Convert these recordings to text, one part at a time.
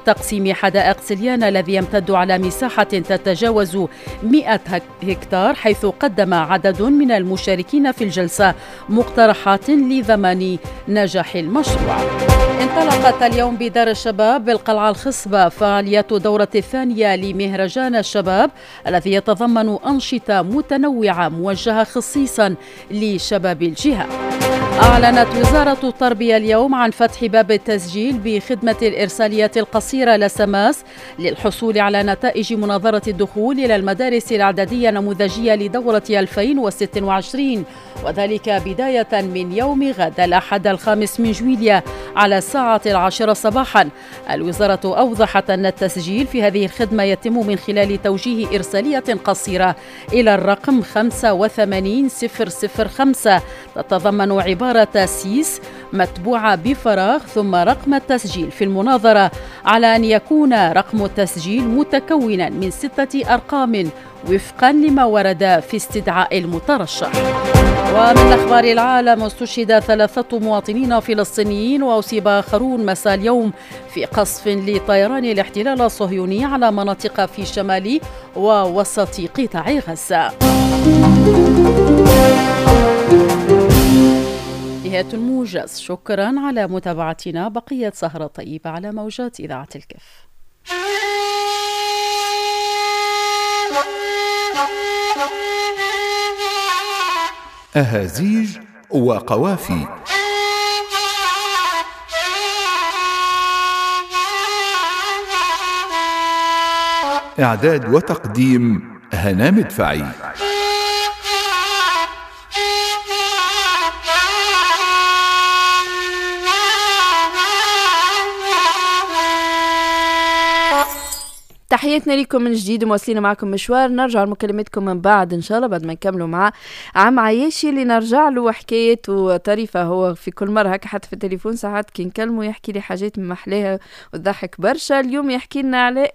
تقسيم حدائق سليانة الذي يمتد على مساحة تتجاوز 100 هكتار، حيث قدم عدد من المشاركين في الجلسة مقترحات لضمان نجاح المشروع. انطلقت اليوم بدار الشباب بالقلعة الخصبة فعاليات دورة الثانية لمهرجان الشباب الذي يتضمن أنشطة متنوعة موجهة خصيصا لشباب الجهة. أعلنت وزارة التربية اليوم عن فتح باب التسجيل بخدمة الإرساليات القصيرة لسماس للحصول على نتائج مناظرة الدخول إلى المدارس الإعدادية النموذجية لدورة 2026، وذلك بداية من يوم غد الأحد 5 جويلية على الساعة 10 صباحا. الوزارة أوضحت أن التسجيل في هذه الخدمة يتم من خلال توجيه إرسالية قصيرة إلى الرقم 85005 تتضمن عبارة سيس متبوعة بفراغ ثم رقم التسجيل في المناظرة، على أن يكون رقم التسجيل متكونا من 6 أرقام وفقا لما ورد في استدعاء المترشح. ومن أخبار العالم، استشهد 3 مواطنين فلسطينيين وأصيب آخرون مساء اليوم في قصف لطيران الاحتلال الصهيوني على مناطق في شمال ووسط قطاع غزة. نهاية الموجز، شكرا على متابعتنا، بقية سهرة طيبة على موجات إذاعة الكف. أهازيج وقوافي. إعداد وتقديم هنا مدفعي. تحياتنا لكم من جديد ومواصلين معكم مشوار. نرجع لمكالمتكم من بعد ان شاء الله، بعد ما نكملوا مع عم عياشي اللي نرجع له حكايته طريفه. هو في كل مرة هكا حتى في التليفون ساعات كي نكلمه يحكي لي حاجات محلاها وتضحك برشا. اليوم يحكي لنا على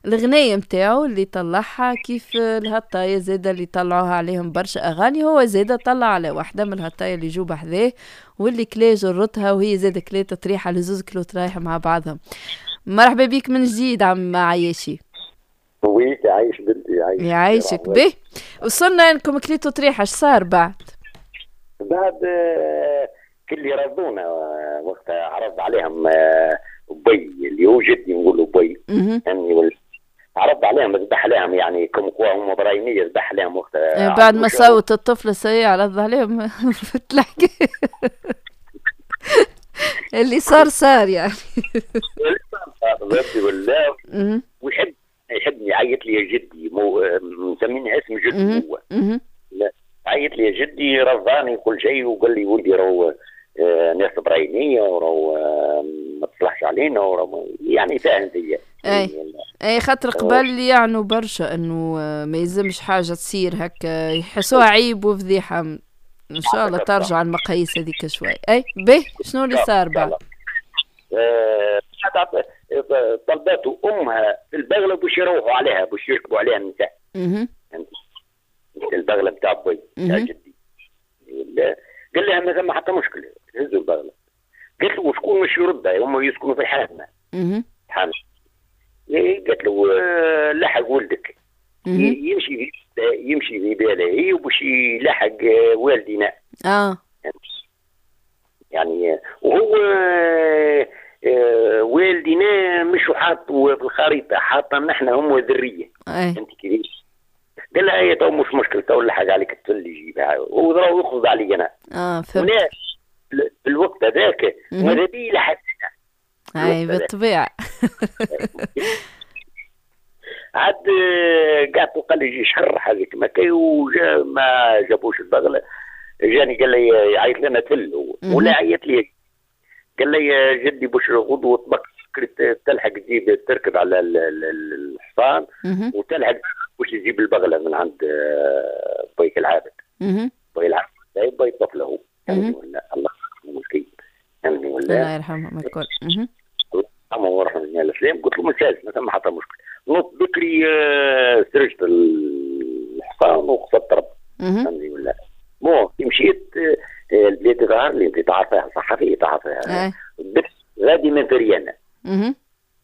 الغنايه نتاعو اللي طلعها كيف الهطايه زاده اللي طلعوها عليهم برشا اغاني، هو زاده طلع على واحدة من الهطايه اللي جو بحذاه واللي كلا جرتها وهي زاده كلات طريحه لزوز كلو طرايح مع بعضهم. مرحبا بك من جديد عم عياشي. oui عايش بنتي، عايش يعيشك به. وصلنا انكم كليتوا طريحه، اش صار بعد؟ بعد كل رضونا وقتها عرض عليهم بي اللي هو جدي نقول بي يعني عرض عليهم ذبح عليهم يعني comme quoi هم برايميه ذبح عليهم وقتها بعد ما صوت الطفل سيء عرض عليهم في الحكاية اللي صار صار يعني. اللي صار صار ولا ويحب يحبني يعيط لي يا جدي، مو مسميني اسم جدي هو. لا عيط لي يا جدي رضاني كل شيء وقال لي ولدي راهو ناس براينيه وراهو ما تصلحش علينا وراهو يعني فاهم فيا. اي خاطر قبل يعنوا برشا انه ما يلزمش حاجة تصير هكا، يحسوها عيب وفضيحه. ان شاء الله ترجع المقاييس هذيك شوي. اي به شنو اللي صار بعد؟ طلبته امها في البغلة باش يروحوا عليها باش يركبوا عليها النساء. البغلة بتاع بوي بتاع جدي. قال لها ما ثم حتى مشكلة هزوا البغلة. قالت له وشكون مش يردها؟ هم يسكنوا في الحامه. الحامه. قالت له لحق ولدك يمشي يمشي في باله هي وباش يلحق والدينا. يعني وهو والدينا مش حاط في الخريطة، حاطه نحن هم ذرية. انت كيفاش؟ قال لها هي تو مش مشكل تو لحق عليك الطفل يجيبها وضرب يخرج علي انا. فهمت. في الوقت هذاك ماذا بي لحق. اي بالطبيعة. عاد قعدت قال لي يجي شهر حاجة كما كي وجا ما جابوش البغلة. جاني قال لي يعيط لنا تل ولا عيط لي قال لي جدي باش غدوه طبق تلحق تجيب تركب على الحصان وتلحق باش تجيب البغلة من عند بيك العابد. بيك العابد بيت طفله يعني ولا الله يرحمه مسكين يعني ولا الله يرحمهم الكل. الله يرحمه ويرحم جميع الاسلام. قلت له ممتاز ما ثم حتى مشكل. نط بكري سرجت الحصان وقصدت رب فهمتني ولا bon مشيت البلاد ظهر لي انت تعرفها صحفية تعرفها غادي من فريانه.